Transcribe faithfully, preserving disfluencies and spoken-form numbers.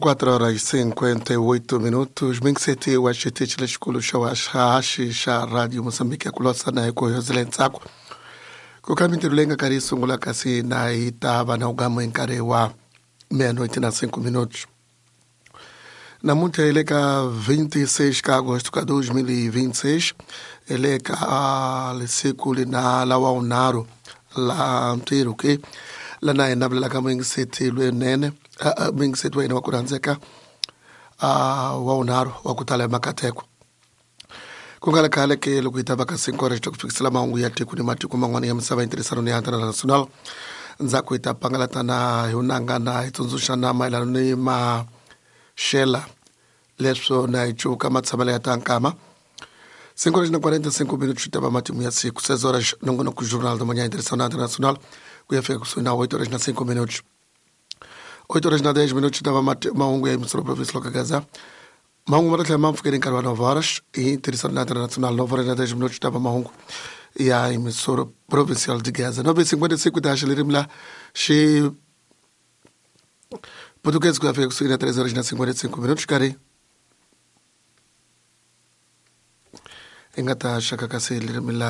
quatro horas e cinquenta e oito minutos. Mingiseti wa xitichi lexikulu xa waxaxi xa Radio Moçambique ya ku lwasana hi ku yozela ntsako ku ka mintirho leyi nga karhi yi sungula kasi na yi ta va na ugamo hi nkarhi wa meia-noite na cinco minutos. Namuntlha hi le ka vinte e seis ka agosto ka dois mil e vinte e seis, hi le ka siku lina la wa vunharhu la ntirho ke lana hi navelelaka muyingiseti lwenene muyingiseti wa hina wa ku rhandzeka wa vunharhu wa ku tala hi makateko. Ku nga ri khale ke loko hi ta va ka cinco horas ta ku fikisela mahungu ya tiko ni matiko man'wana ya misava hi ntirhisano ni ya international. Ndzhaku hi ta pangalatana hi unangana hi tsundzuxana mayelana ni maxela leswo na hi cuka matshamelo ya ta nkama. cinco horas na quarenta e cinco minutos ta va matimu ya siku. seis horas nongonoko Jornal da Manhã ntirhisano na international ku ya fika kusuhi na oito horas na cinco minutos. oito horas na dez minutos ta va mahungu ya emissora provincial ka Gaza. Mahungu ma ta tlhela ma pfukeni nkarhi wa nove horas hi ntirhisano na international. nove horas na dez minutos ta va mahungu ya emissora provincial de Gaza. nove e cinquenta e cinco ta haxa ririmi la xi português ku ya fika kusuhi na três horas na cinquenta e cinco minutos karhi hi nga ta xaka kasi ririmi la